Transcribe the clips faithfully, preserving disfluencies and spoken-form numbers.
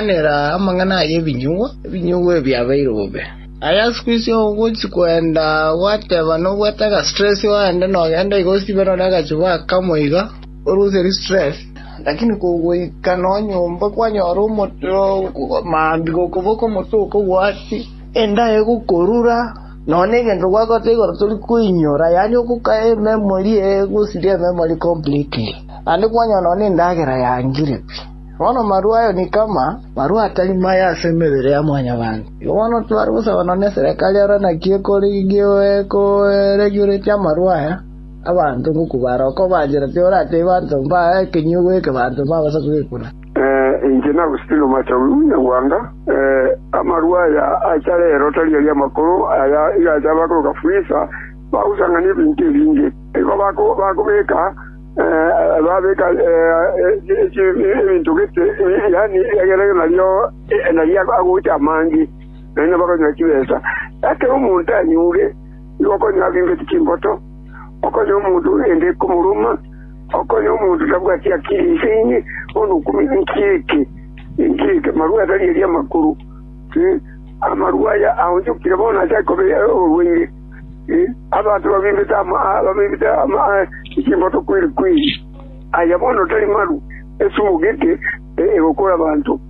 Nera amang'ana aya ebinyugwa, ebinyugwa ebi biabeire bobe. Aya siku hizi ogochi kwenda gwateba nobwate agastress ogende nogenda iga osibe nonye agachuba akamo iga oruserie stress lakini kogoika nonyomba kwanyora omoto maambia gokoboka omote okogwati enda egokorura nonye egento gwakorete igoro tori koinyora yaani ogoka ememory egosiria ememory completely naende kwanyora nonye endagera yangire pi. Bono marwa ayo ni kama marwa atari maya ase emebere ya mwanyabanto. Igo bono tware gosaba nonye eserekari ero naki ekorigia ekoregulate amarwa aya abanto ngokubara okobanchera tiorate banto mba ekenyugwa eke banto mbabasa kogekuna. Inche Agustino Machagu Nyagwanga, amarwa aya acha rero tari aria amakoro aya iga acha bakoroka Fuliza bagosang'ania ebinto ebinge igo bakobeka babeka ebinto gete yaani egere nario nario agocha amange naende bakonyora chibesa. Ekero omonto anyure igo okonyora abimbeti chimboto, okonyora omonto ende ekomoroma, okonyora omonto tabwati akili inse inye bono okumi nki eke nki eke marwa atari aria amakoro amarwa aya aonchokire bono ase akoba oborwaire abanto babimbete babimbete chimboto kweri kweri aya bono tari maru esumu gete egokora abanto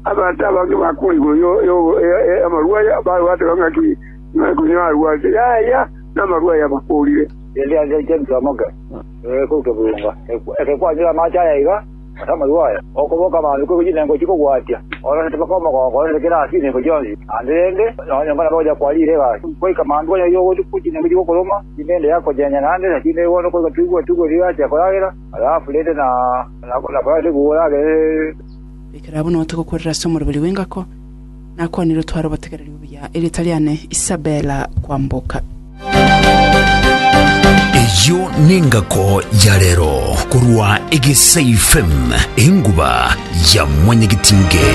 abanto abange bakure igoro amarwa aya bateba ng'aki ng'aki arwate yaya n'amarwa aya bakorire Ndianze James Wamoke kobunga ekekwanyura amache aya iga ase amarwa aya okoboka abantu kochinengo chikogwatia orosete mpaka omogongo orosete kera ase chinengo chionsi ande rende nonye mbona bagocha kwarire egasi goika mambi konya chinengo chigokoroma chinde yakochenya naende lakini bono koika twigwe twigwe rigacha koragera alafu rende na nakoragere Bikera buno tugukorera ase omoroberi w'engako nakwanire twara obotegereri buya eritariane Isabella Kwamboka. Eyo nengako ya rero korwa Egesa F M enguba ya mwanyagetinge.